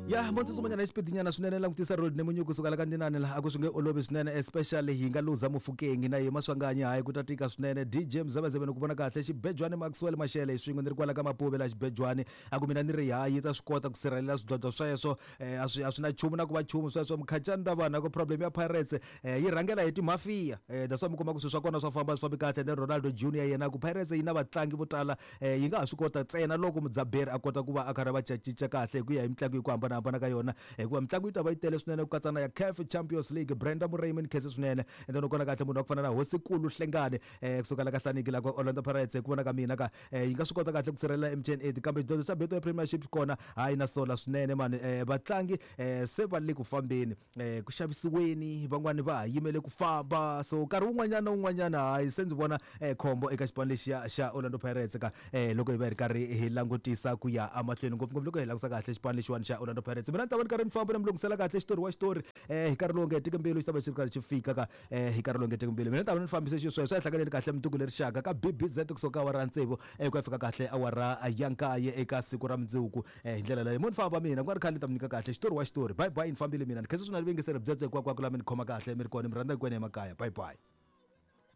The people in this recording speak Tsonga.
Ya mo tsutsumanyana hi xipidinyana swinene, langutisa Road Nemunyu kusuka la ka Ndinani la, a ku swi nge olovi swinene, especially hi nga luza Mofokeng na yima Swanganyi, hayi ku ta tika swinene. DJ Mzebezebe ni ku vona kahle Xibejwani Maxwell Mashele hi swin'we ni ri kwala ka Mapuve la Xibejwani, a ku mina ni ri hayi yi ta swi kota ku sirhelela swidlodlo sweswo, a swi a swi na nchumu na ku va nchumu sweswo. Mkhacani ta vanhu a ku problem ya Pirates yi rhangela hi timafiya, that's why mi kuma ku swilo swa kona swa famba swi fambi kahle. And then Ronaldo Junior yena ku Pirates yi na vatlangi vo tala, Yi nga ha swi kota ntsena loko mudzaberi a kota ku va a karhi a va cincacinca kahle hi ku ya hi mitlangu hi ku hambanahambana ka yona, hikuva mitlangu yi ta va yi tele swinene ku katsa na ya CAF Champions League. Brenda Murayimi ni khense swinene. And then u kona kahle munhu wa ku fana na Hosikulu Hlengani kusuka la ka Hlaniki la ka Orlando Pirates, hi ku vona ka mina ka yi nga swi kota kahle ku sirhelela MTN 8, kambe xidlodlo xa Betway Premiership kona hayi na sola swinene mani. Vatlangi se va le ku fambeni, ku xavisiweni, van'wani va ha yimele ku famba, so nkarhi wun'wanyana na wun'wanyana hayi se ndzi vona khombo eka xipano lexiya xa Orlando Pirates ka loko hi va hi ri karhi hi langutisa ku ya emahlweni, ngopfungopfu loko hi langusa kahle xipano lexiwani xa Orlando Pirates. Mina ni ta va ni karhi ni famba ni mi lunghisela kahle xitori wa xitori hi nkarhi lowu nga hetiki mbilu, xi ta va xi ri karhi xi fika ka hi nkarhi lowu nga hetiki mbilu. Mina ni ta va ni fambise xisweswo, a hi hlanganeni kahle mundzuku leri xaka ka BBZ kusuka awara ya tsevu ku ya fika kahle awara ya nkaye eka siku ra mundzuku. Hi ndlela leyo mo ni famba mina ku nga ri khale ni ta mi nyika kahle xitori wa xitori. Bye bye, ni fambile mina. Ni khensa swinene vuyingiseri byebyo hinkwako la mi ni khoma kahle mi ri kona, mi rhandza hinkwenu emakaya. Bye bye.